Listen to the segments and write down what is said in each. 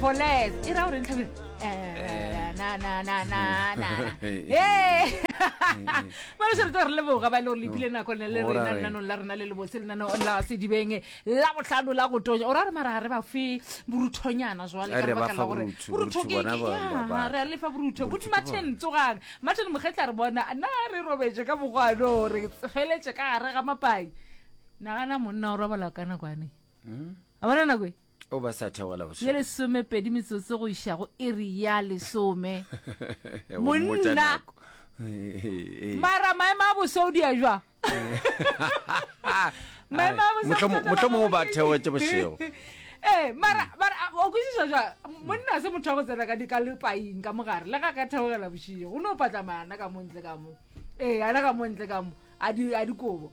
For less. E ra gore ntlhabile. Eh, na na na na na. Ee. Ba re re leboga ba le gore le phile nako le le rena lenanong la rena le le botse lenanong la sedibeng la bohlano la go tonya. O ra re mara ga re ba fe boruthonyana jwale ka lebaka la gore borutho ke ya re a lefa borutho. Buti Martin tsogang. Martin Mokgetla re bona na re robetše ka mokgwano re feletše ka gare ga mapai. Nagana monna o robala ka nako ane. A bona nako e? O ba sa theogela bošego. Ye lesomepedi metsotso go iša go iri ya lesome. Go mmotša Monna. nako. Ee. Mara maemo a boso o dia jwang? Maemo a boso Mohlomong- mohlomong o ba theogetše bošego. Ee, mara mara a- o kwešiša jwang? Monna a se motho wa go tsena ka di ka lepaing ka mogare le ga ka theogela bošego. O no patlama ana ka mo ntle ka mo. Ee, ana ka mo ntle ka mo. A di a dikobo.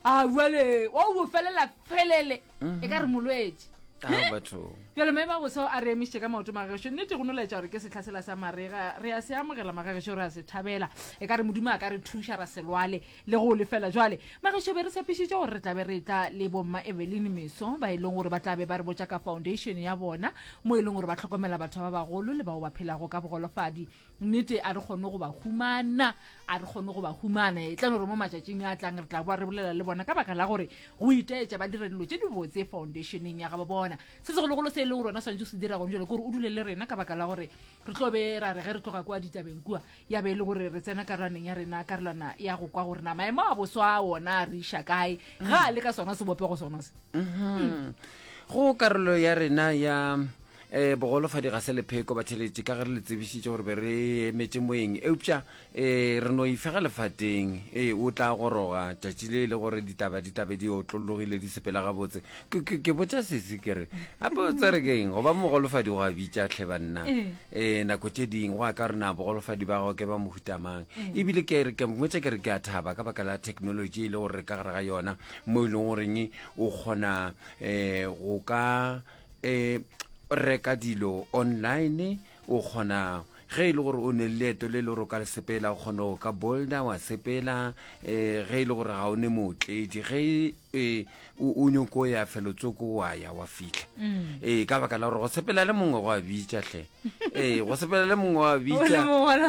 A jwale wa o felela felele e ka re molwetši. Ah, batho. Bjale maemo a boso a re emišitše ka maoto magagešo. Nnete go no laetša gore ke sehla sela sa marega. Re a se amogela magagešo, re a se thabela. E ka re Modimo a ka re thuša ra se lwale le go lefela. Jwale magešo be re tshepišitše gore re tla be re etla le bomma Eveline Meso ba e leng gore ba tla be ba re botša ka foundation ya bona mo e leng gore ba hlokomela batho ba bagolo le bao ba phelago ka bogolofadi. Nnete a re kgone go ba humana, a re kgone go ba humana. E tla no re mo matšatšing a tlang re tla boa re bolela le bona ka baka la gore go itaetša ba dira dilo tše dibotse foundationeng ya gabo bona. Se segologolo se e leng gore wena o swanetše go se dira gone jalo ke gore o dule le rena ka baka la gore re tlo be ra re ge re tloga kua ditabeng kua ya be e le gore re tsena karolwaneng ya rena, karolwana ya go kwa gore na maemo a boswa a wona a re iša kae ga a le ka sona sebopego sona se. Go karolo ya rena ya Um bogolofadi ga se lepheko, batheeletši, ka ge re le tsebišitše gore be re emetše moeng. Eupša um re no ifega lefateng. Ee, o tla goroga tšatši le e le gore ditaba di tla be di otlologile, di sepela gabotse. Ke, ke, ke botša sesi ke re, gape o tsere ke eng? Go ba mogolofadi go a bitša hle banna. Ee, nako tše ding go ya ka gore na bogolofadi ba gago ke ba mohuta mang. Ebile ke re, ke mmotša ke re ke a thaba ka baka la technology e le gore re ka gare ga yona, mo e leng goreng o kgona um go ka e reka dilo online o kgona ge e le gore o ne le leeto le le gore o ka le sepela o kgona go ka bolda wa sepela um ge e le gore ga o ne mootledi ge e o nyoko ya felotsoko wa ya wa fitlha mm. ee ka baka la gore go sepela le mongwe go a bitša hle ee go sepela le mongwe wa bitša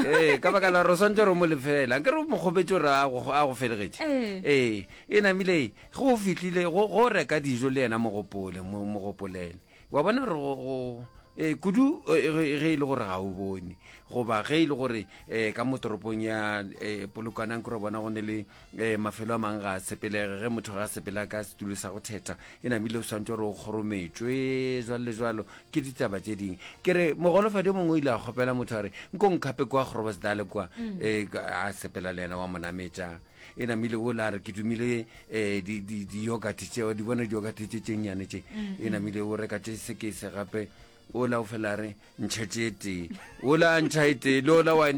ee ka baka la gore o swantse gore o mo lefela nke re o mo kgopetse gore a go felegetše ee e namile Ge o fihlile, go, go reka dijo le yena mo gopole, mo, mo gopolele. Wa bona gore go, go, e, kudu e, ge, ge e le gore ga o bone, goba ge e le gore e, ka mo toropong ya e, Polokwanang ke re bona go ne le e, mafelo a mang ga a sepelege, ge motho ga a sepela ka setulo sa go thetha, e namile o swantse gore o kgorometšwe, jwalo le jwalo, ke ditaba tše dingwe. Ke re mogolofadi o mongwe o ile a kgopela motho a re, nko nkhape kwa Groblersdal kwa, mm. e, a sepela le yena wa mo nametša. E namile o la re ke dumile um di-yogurt tšeo di bona di-yogurt tše tše nnyane tše mm, e namile o reka tše sekese gape ola o fela re ntšha tše tee ola a ntšha e tee le ola wa e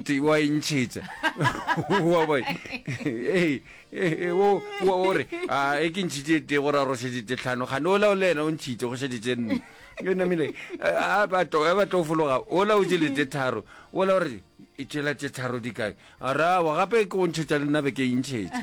ntšhetša wa bona ee o re a e ke ntšhitše e tee gore a rošetše tše tlhano gane ola o le ena o ntšhitše go šetše tše nne e namile a ba tlo fologa ola o jele tše tharo ola o re e tšela tše tharo di kae A re, Aowa, gape ke go ntšhetša le nna be ke e ntšhetša.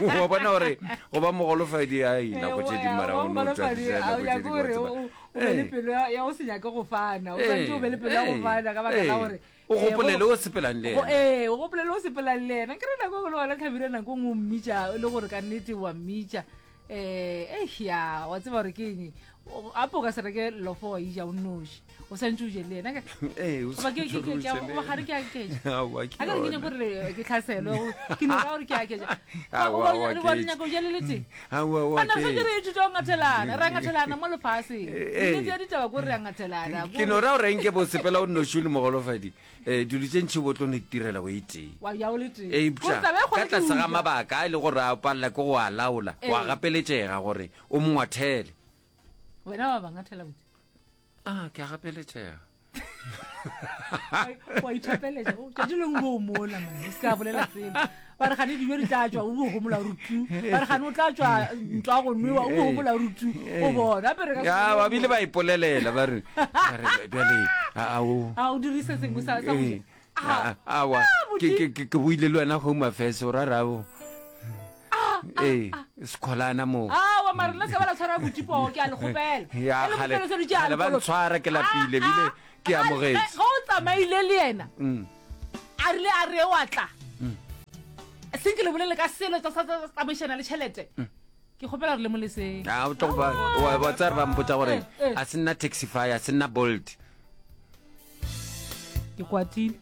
Wa bona gore go ba mogolofadi ai nako tše dingwe mara o no tšwa diša nako tše dingwe wa tseba. O be le pelo ya go se nyake go fana. O swanetše o be le pelo ya go fana ka baka la gore o gopolele o sepelang le yena. Ee, o gopolele o sepelang le yena. Ke re nako e le gona Hlabirwa nako e nngwe o mmitša e le gore ka nnete wa mmitša. Eh, eish ya, wa tseba gore ke eng? Gape o ka se reke lofo wa ija o nnoši. O santse o je le yena. Ee, o Goba ke- santse ke- o ke- je le goba ga re ke aketša. Aowa, ke A ka re ke yona. nyako gore ke tlhaselwe, ke no ra gore ke aketša. Aowa, Goba o o- goba re aketša. nyaka go ja le le tee. Aowa, o Banna re santse aketša. re ithuta go ngathelana, re a ngathelana mo lefaseng. Ee. Nnete ya ditaba ke gore re a ngathelana. Ke no ra gore nke bo sepela o nnoši o le mogolofadi. um dilo tše ntši bo tlo no itirela o e tee. Wa ja o le tee. Eupša Gore taba e kgolo ka ke tlase go ga ja. mabaka a e le gore a palela ke go a laola, wa Ee. gapeletšega gore o mo ngwathele. Wena wa ba ngathela botse. Ah, ke a gapeletšega. Wa ithapeletša. O tšatši lengwe o bo o mola man, o se ka bolela selo. Ba re gane dijo di tla tšwa, o bo gomola o re tu. Ba re gane o tla tšwa ntwa go nwewa, o bo gomola o re tu. O bona gape re ka se Ya, kgone ba go bile ba ipolelela ba re, ba re bjale a o A o dirise sengwe sa sa go ja. A awa ke ke ke ke buile le wena home affairs o ra rabo. Ee, sekholana mo. Awa. mare le se ba la tshwara botipoo ke a le kgopela. Ya, E le kgale- mofelo se dutše a kgale ba nkolo- ntshwara ke lapile, Ah, ebile ah, ke ah, amogetše. Ge o tsamaile le yena a rile a re wa tla seng ke le bolele ka selo tsa sa tsa tsamaišana le tšhelete ke kgopela gore le mo leseng a o tlo go ba wa wa tsaya re ba mpotsa gore Eh, eh. a se nna taxify a se nna bolt ke kwatile.